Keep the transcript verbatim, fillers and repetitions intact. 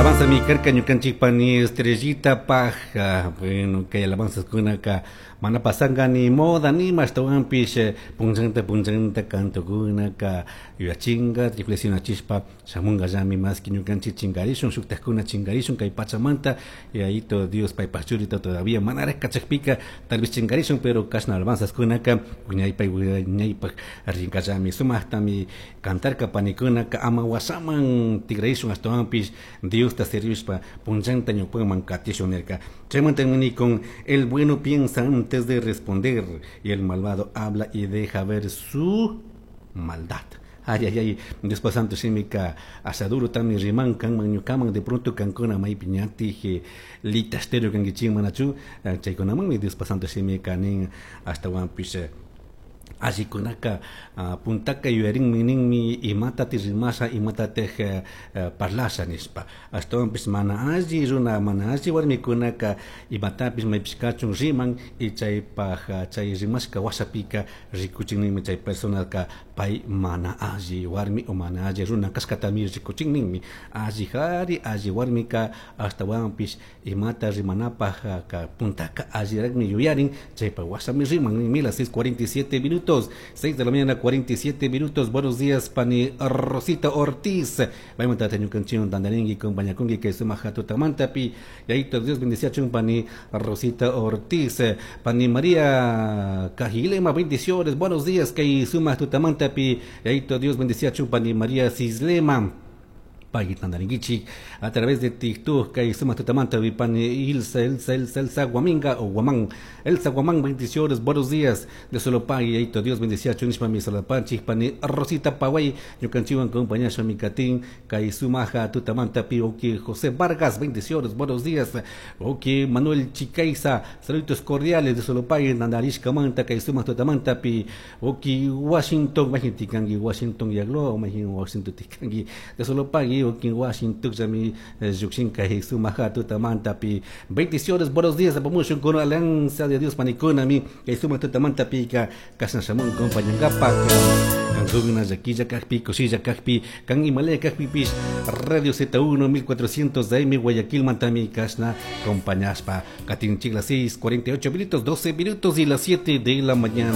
Alabanza mi karka ñukanchik pani Estrellita paja. Bueno, kay alabanzaskunaka mana pasanga ni moda ni ashtawanpish punchanta punchanta cantokunaka yuyachinga reflexionachishpa shamunga llami maski ñukanchik chingarishun, shuktakuna chingarishun kay pachamanta, Yayito Dios paypaj churita todavía manaraj kachakpika tal vez chingarishun, pero kashna alabanzaskunaka wiñaypay wiñaypaj rinkallami. Sumaktami cantarka panikunaka, ama washaman tigrarishun, ashtawanpish Diosta servishpa punchanta ñawpaman katishun nirka. Chaymanta con el bueno piensa antes de responder y el malvado habla y deja ver su maldad. Ay, ay, ay, Dios santo shimika asaduro tami riman kanman ñukaman, de pronto kankuna maypi ñatik litastero kankichik manachu, chaykunamanmi Dios santo shimika nin. Ashtawanpish allikunaka puntaka yuyarinmi ninmi imatati rimasha, imatatik parlasha nishpa. Ashtawanpish mana alli runa, mana alli warmikunaka imatapish maypish kachun riman y chaypaj chay rimashka washapika rikuchin ninmi chay personaka pay mana alli warmi o mana alli runa kashkatami rikuchin ninmi. Alli kari alli warmika ashtawanpish imata rimanapaj ka puntaka alliraqmi yuyarin, chaypaj washami riman ninmi. Las seis cuarenta y siete minutos, seis de la mañana cuarenta y siete minutos. Buenos días, pani Rosita Ortiz. Vamos a tener canción tandaringi compañakungi kay sumaja tutamantapi. Yayito Dios bendiciachun, pani Rosita Ortiz. Pani María Cajilema, bendiciones. Buenos días, kay sumaja tutamantapi. Yayito Dios bendiciachun, pani María Cislema tandaringuichik a través de TikTok kay sumak tutamanta pani Ilsa, Elsa, Elsa, Elsa Guaminga o Guamán, Elsa Guamán, bendiciones, buenos días de solo pagui. Yayito Dios bendiciachun nishpami salapanchik. Pani Rosita Paway ñukanchikwan compañasha mikatin kay sumaja tutamanta pi. Oki José Vargas, bendiciones, buenos días. Oki Manuel Chicaiza, saludos cordiales de solo pagui tandarishkamanta kay sumak tutamanta pi. Oki Washington, majin tikanki Washington yaglo, majin Washington tikanki de solo pagui oki Washington llami llukshin kay sumaja tutamanta pi. Bendiciones, buenos días, apamushun con alianza de Dios panikunami kay sumak tutamanta pi ka kasna shamun compañangapak. Kankuna llakilla kakpi, kushilla kakpi, kan imalaya kakpipish, Radio Z uno mil cuatrocientos A M Guayaquil mantami kasna compañashpa katinchik. Las seis cuarenta y ocho minutos, doce minutos y las siete de la mañana.